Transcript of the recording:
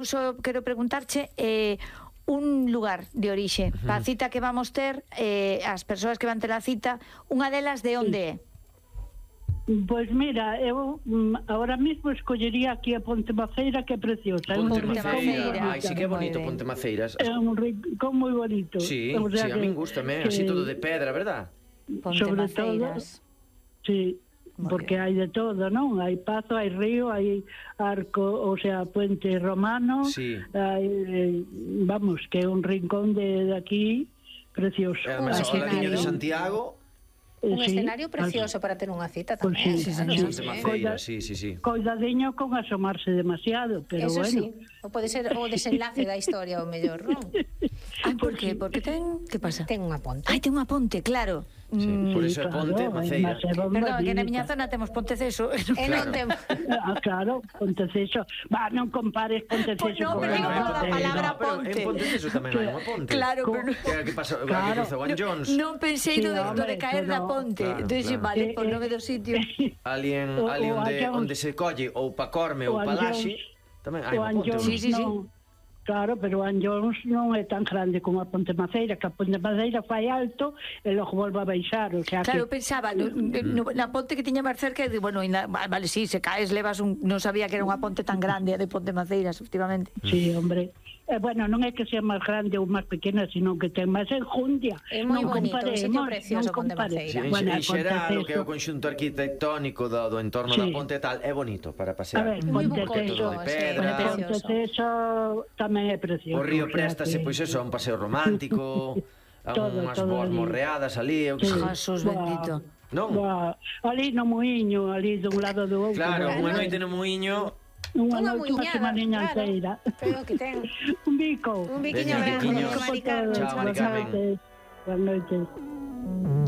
Só quero preguntarche un lugar de orixe para a cita que vamos ter, as persoas que van ter a cita, unha delas de onde é? Pois mira, eu ahora mismo escollería aquí a Ponte Maceira, que é preciosa. Ponte Maceira, ai, sí que é bonito Ponte Maceiras. É un rincón moi bonito. Sí, sí, a min gustame, así todo de pedra, verdad? Ponte Maceiras. Sí, porque hai de todo, non? Hai pazo, hai río, hai arco, o sea, puente romano, hai, vamos, que é un rincón de aquí precioso. Además, ao ladiño de Santiago. Un escenario precioso para ter unha cita tamén. Ponte Maceira, sí. Coidadiño con asomarse demasiado, pero eso bueno. Sí, o pode ser o desenlace da historia o mellor, non? Por que? Porque ten, que pasa? Ten unha ponte. Ai, ten unha ponte, claro. Por iso é Ponte Maceira. Perdón, que na miña zona temos Ponteceso. Non temos. Claro, Ponteceso. Va, non compares Ponteceso con Ponte. Non, a palabra ponte. En Ponteceso tamén hai unha ponte. Claro, pero que pasa, que cruza Juan Jones. Non pensei do de caer da ponte. Entón, vale, por nome do sitio. Ali onde se colle ou pa Corme ou pa Laxe, tamén hai unha ponte. Sí. Claro, pero Anllóns non é tan grande como a Ponte Maceira, que a Ponte Maceira fai alto e logo volve a baixar, o sea claro, que... pensaba, na ponte que tiña máis cerca, e bueno, vale, sí, se caes, levas non sabía que era unha ponte tan grande, a de Ponte Maceiras, efectivamente. Sí, hombre. Bueno, non é que sea máis grande ou máis pequena, sino que ten máis enjundia. É moi bonito, un sitio precioso Ponte Maceira. En xeral, o que é o conxunto arquitectónico do entorno da ponte tal, é bonito para pasear. A ver, Ponteceso de pedra. Ponteceso tamén é precioso. O río préstase, pois eso, a un paseo romántico, a unhas boas morreadas ali, eu que sei. Jesús bendito. Non? Ali no muiño, ali dun lado do outro. Claro, unha noite no muiño. Unha muiñada, claro. Pero que ten un bico. Un biquiño. Chao, Maricarmen. Buenas noches.